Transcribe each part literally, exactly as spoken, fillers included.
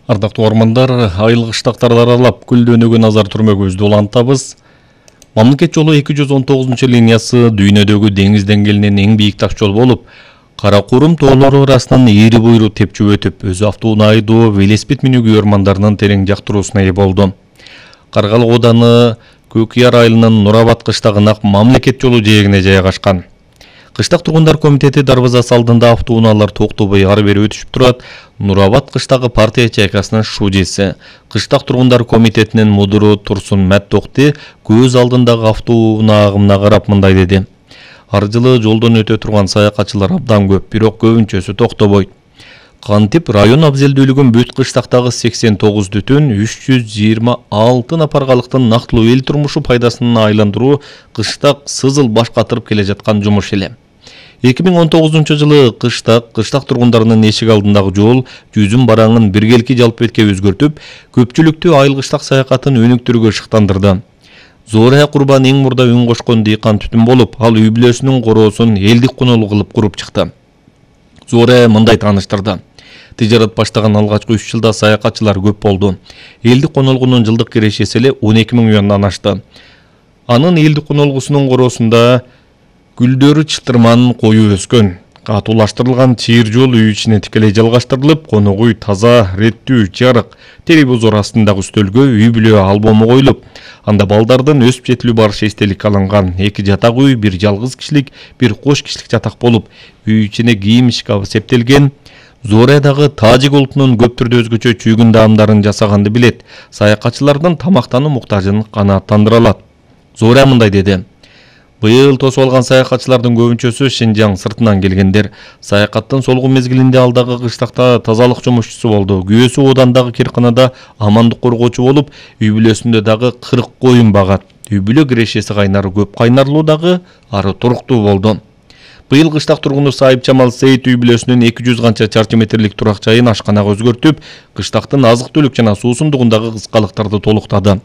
Ардактуу ормандар, айыл кыштактарды аралап гүлдөнүүгө назар түрмөгүбүздү улантабыз. Мамлекет жолу эки жүз он тогузунчу линиясы дүйнөдөгү деңиз деңгээлинен эң бийик таш жол болуп, Каракурум тоолору арасынан эри буйру тепчип өтүп, өзү автоунаа айдоо, велосипед минүүгө ормандарынын терең жактыруусуна ээ болду. Каргалык ооданы Көкияр айылынын Нурабад кыштагына мамлекет жолу жээгине жайгашкан. Кыштак тургундар комитети дарбазасы алдында автоунаалар токтобой ары бери өтүшүп турат. Нурабад кыштагы партия чайкасынын шужеси, кыштак тургундар комитетинин мудуру Турсун Мэттокти көз алдындагы автоунаа агымына карап мындай деди. Ар жылы жолдон өтө турган саякатчылар абдан көп, бирок көбүнчөсү токтобойт. Кантип район абзелдүүлүгүн бүт кыштактагы сексен тогуз бүтүн үч жүз жыйырма алты напаргалыктын нактылуу эл турмушу пайдасына айландыруу кыштак сызыл баш катырып келе жаткан жумуш эле. эки миң он тогузунчу жылы кыштак кыштак тургундарынын эшик алдындагы жол жүзүм бараңын биргелки жалпы бетке өзгөртүп, көпчүлүктү айыл кыштак саякатын өнүктүрүүгө шыктандырды. Зорая Курбан эң мурда үн кошкон дыйкан түтүн болуп, ал үй бүлөсүнүн короосун элдик конолу кылып куруп чыкты. Зорая мындай тааныштырды. Тижарат баштаган алгачкы үч жылда саякатчылар көп болду. Элдик конолгунун жылдык кирешеси эле он эки миң юандан ашты. Анын элдик конолгусунун короосунда гүлдөрү чытырман кою өскөн. Катуулаштырылган чыйыр жол үй ичине тикелей жалгаштырылып, конок үй таза, реттүү, жарык, телевизор астындагы үстөлгө үй бүлө албому коюлуп, анда балдардын өсүп жетилүү барышы эстеликке алынган. Эки жатак үй, бир жалгыз кишилик, бир кош кишилик жатак болуп, үй ичине кийим шкафы септелген. Зореядагы тажик улутунун көп түрдө өзгөчө чүйгүн даамдарын жасаганды билет. Саякатчылардын тамактануу муктажын канааттандыра алат. Зорея мындай деди. Быйыл тосуп алган саякатчылардын көбүнчөсү Шинжаң сыртынан келгендер. Саякаттын солгу мезгилинде алдагы кыштакта тазалык жумушчусу болду. Күйөөсү оодандагы кирканада амандык коргоочу болуп, үй бүлөсүндө дагы кырк коюн багат. Үй бүлө кирешеси кайнары көп кайнарлуу дагы ары туруктуу болду. Быйыл кыштак тургуну Сайып Жамал Сейит үй бүлөсүнүн эки жүз канча чарчы метрлик турак жайын ашканага өзгөртүп, кыштактын азык-түлүк жана суусундугундагы кыскалыктарды толуктады.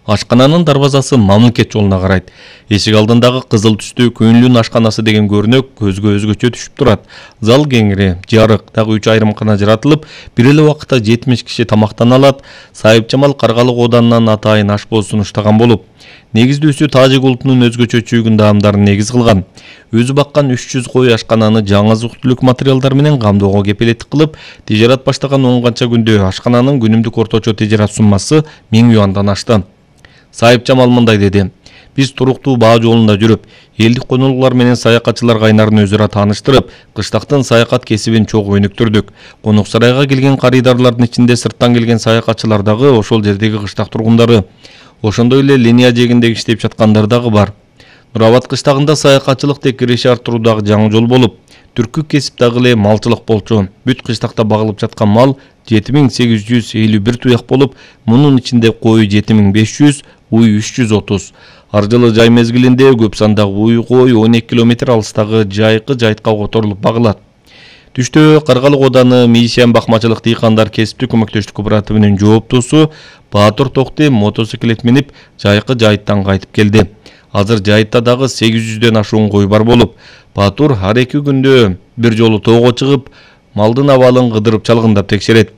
Ашкананын дарбазасы мамлекет жолуна карайт. Эшик алдындагы кызыл түстүү көңүлүн ашканасы деген көрүнөк көзгө өзгөчө түшүп турат. Зал кеңири, жарык, дагы үч айрымкана жаратылып, бир эле убакытта жетимиш киши тамактана алат. Сайып Жамал Каргалык ооданынан атайын ашпоз сунуштаган болуп, негиздүүсү тажик улутунун өзгөчө чүйгүн даамдарын негиз кылган. Өзү баккан үч жүз кой ашкананы жаңы азык-түлүк материалдар менен камдоого кепилеттик кылып, тижарат баштаган он канча күндө ашкананын күнүмдүк орточо тижарат суммасы миң юандан ашты. Сайып Жамал мындай деди. Биз туруктуу баа жолунда жүрүп, элдик конолгулар менен саякатчылар кайнарын өзүрө тааныштырып, кыштактын саякат кесибин чогуу өнүктүрдүк. Конок сарайга келген карыдарлардын ичинде сырттан келген саякатчылар дагы ошол жердеги кыштак тургундары. Ошондой эле линия жээгинде иштеп жаткандар дагы бар. Нурабад кыштагында саякатчылык тек киреше арттыруудагы жаңы жол болуп, түркү кесип дагы эле малчылык болчу. Бүт кыштакта багылып жаткан мал жети миң сегиз жүз элүү бир туяк болуп, мунун ичинде кой жети миң беш жүз, уй үч жүз отуз. Ар жылы жай мезгилинде көп сандагы уй кой он эки километр алыстагы жайкы жайтка которулуп багылат. Түштө Каргалык ооданы Мишен бакмачылык дыйкандар кесиптик көмөктөштүк кооперативинин жооптуусу Баатыр Токти мотоциклет минип жайкы жайыттан кайтып келди. Азыр жайытта дагы сегиз жүздөн ашуун кой бар болуп, Баатыр ар эки күндө бир жолу тоого чыгып, малдын абалын кыдырып чалгындап текшерет.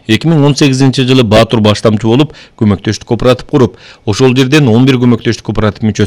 эки миң он сегизинчи жылы Баатыр баштамчы болуп, көмөктөштүк кооператив куруп, ошол жерден он бир көмөктөштүк кооператив мүчөсү